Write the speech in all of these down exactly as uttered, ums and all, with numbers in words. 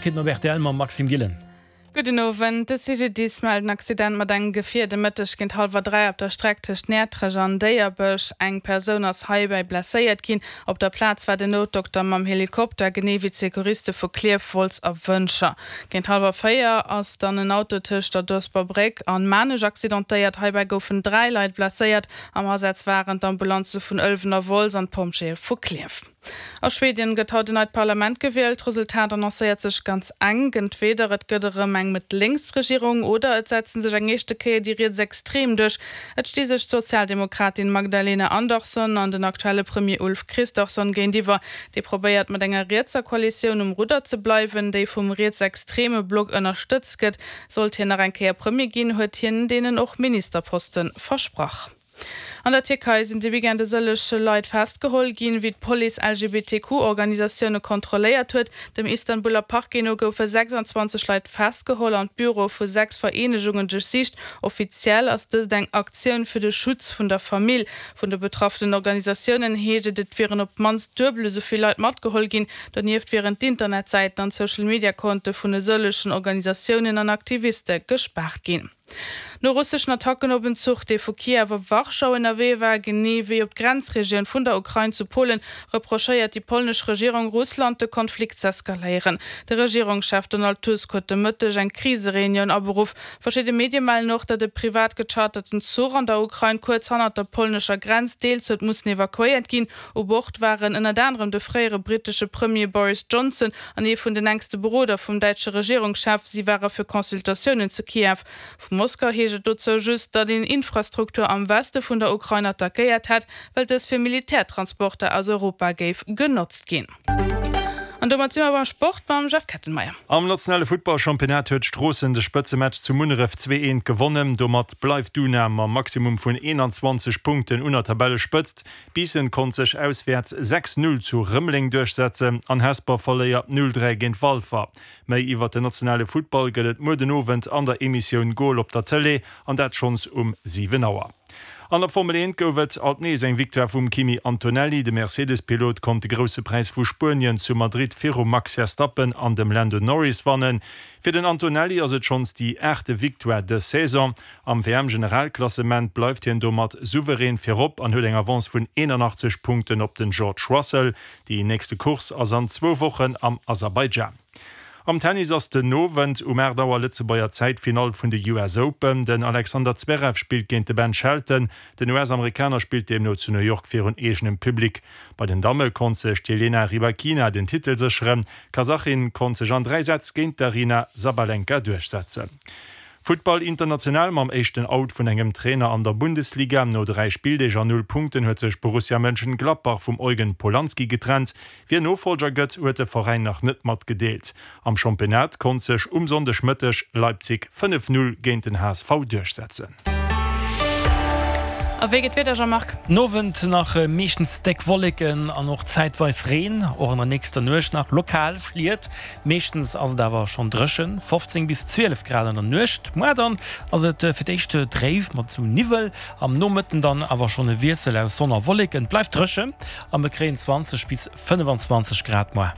Neiegkeeten op rtl mam Maxime Gillen. Gudden Owend. De CGDIS mellt en Accident mat engem Gefier de Mëtteg géint hallwer dräi op der Streck tëscht Näertrech an Déierbech. Eng Persoun ass heibäi blesséiert ginn. Op der Plaz war den Noutdokter mam Helikopter, genee wéi d'Secouriste vu Klierf, Wolz a Wëntger. Géint hallwer véier ass dann en Auto tëscht der Doesper Bréck an Maarnech accidentéiert. Heibäi goufen dräi Leit blesséiert. Am Asaz waren d'Ambulanze vun Ëlwen a Wolz an d'Pompjeeë vu Klierf. A Schweden gëtt haut en neit Parlament gewielt. D'Resultat annoncéiert sech ganz enk, Entweder et gëtt erëm eng Mëtt-Lénks-Regierung oder et setze sech eng éischte Kéier déi Rietsextrem duerch. Et sti sech d'Sozialdemokratin Magdalena Andersson an den aktuelle Premier Ulf Kristersson géintiwwer. Dee probéiert mat enger rietser Koalitioun um Rudder ze bleiwen, déi vum rietsextreme Block ënnerstëtzt gëtt. Sollt hien nach eng Kéier Premier ginn, huet hien deenen och Ministerposte versprach. An der Tierkei sinn de Weekend e sëllege Leit festgeholl ginn, wéi d'Police L G B T Q Organisatioune kontrolléiert huet. Dem Istanbuler Parquet no goufe sechsanzwanzeg Leit festgeholl an d'Büroe vu sechs Vereenegungen duerchsicht. Offiziell ass dëst eng Aktioun fir de Schutz vun der Famill. Vun de betraffenen Organisatiounen heescht et, et wieren op d'mannst duebel esou vill Leit matgeholl ginn. Donieft wieren d'Internetsäiten an d'Social-Media-Konte vun e sëllegen Organisatiounen an Aktiviste gespaart ginn. No russeschen Attacken op en Zuch, dee vu Kiew op Warschau ënnerwee war, genee wéi op d'Grenzregioun vun der Ukrain zu Polen, reprochéiert déi polnesch Regierung Russland, de Konflikt z'eskaléieren. De Regierungschef Donald Tusk huet de Mëtteg eng Krisereunioun aberuff. Verschidde Medie mellen och, datt e privat gecharterten Zuch an der Ukrain kuerz hannert der polnescher Grenz deels huet mussen evakuéiert ginn. U Bord waren ënnert anerem de fréiere brittesche Premier Boris Johnson an ee vun den enkste Beroder vum däitsche Regierungschef. Si ware fir Consultatiounen zu Kiew. Vu Moskau heescht et dozou just, datt een Infrastruktur am Weste vun der Ukrain attackéiert hätt, well dës fir Militärtransporter aus Europa géif genotzt ginn. An domat si mer beim Sport mam Jeff Kettenmeyer. Am nationale Futtballchampionnat huet Stroossen de Spëtzematch zu Munneref zwee eent gewonnen. Domat bleift d'UNA mam Maximum vun eenanzwanzeg Punkten un der Tabellespëtzt. Biissen konnt sech auswäerts sechs null zu Rëmeleng duerchsetzen an Hesper verléiert null dräi géint Walfer. Méi iwwer den nationale Futtball gëtt et muer den Owend an der Emissioun Goal op der Tëlee, an dat schonns um siwen Auer. An der Formel eent gouf et alt nees eng Victoire vum Kimi Antonelli. De Mercedes-Pilot konnt de Grousse Präis vu Spuenien zu Madrid virum Max Verstappen an dem Lando Norris wannen. Fir den Antonelli ass et schonns déi aachte Victoire dës Saison. Am W M-Generalklassement bleift hien domat souverän virop an huet eng Avance vun eenanachtzeg Punkten op den George Russell. Déi nächste Course ass an zwou Wochen am Aserbaidschan. Am Tennis ass den Owend um aacht Auer Lëtzebuerger Zäit d'Finall vun de U S Open. Den Alexander Zverev spillt géint de Ben Shelton. Den U S-Amerikaner spillt deemno zu New York virun eegenem Public. Bei den Damme konnt sech d'Elena Rybakina den Titel sécheren. D'Kasachin konnt sech an dräi Sätz géint d'Aryna Sabalenka duerchsetzen. Futtball international mam éischten Out vun engem Trainer an der Bundesliga. No dräi Spilldeeg an null Punkten huet sech Borussia Mönchengladbach vum Eugen Polanski getrennt. Wien Nofollger gëtt, huet de Veräin nach net matgedeelt. Am Championnat konnt sech um Sonndegmëtteg Leipzig fënnef Null géint den H S V duerchsetzen. A wéi geet d'Wieder, Jean-Marc? Den Owend nach meeschtens déck Wolleken an och zäitweis Reen, och an der nächster Nuecht nach lokal Schliet. Meeschtens ass et awer schonn dréchen, fofzéng bis zwielef Grad an der Nuecht. Muer dann ass et fir d'éischt dréif mat sou Niwwel, am Nomëtten dann awer schonn e Wiessel aus Sonn a Wolleken. Et bleift dréchen a mir kréien zwanzeg bis fënnefenzwanzeg Grad muer.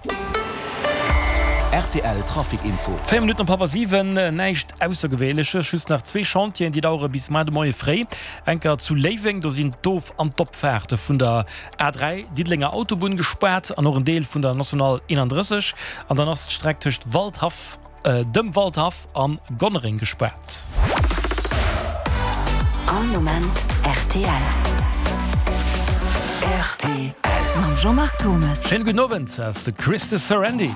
R T L Trafic Info. Véier Minutten op hallwer siwen, näischt Aussergewéinleches, just nach zwee Chantieren, déi dauere bis muer de Moie fréi. Enker zu Léiweng, do sinn d'Of an d'Opfaarte vun der A dräi, Diddelenger Autobunn, gespaart an och en Deel vun der National eenandrësseg. An dann ass d'Streck tëscht Waldhaff, dem Waldhaff a Gonnereng gespaart. All Moment R T L. R T L. Mam Jean-Marc Thomes. Schéine gudden Owend, ass de Chris de Sarandy.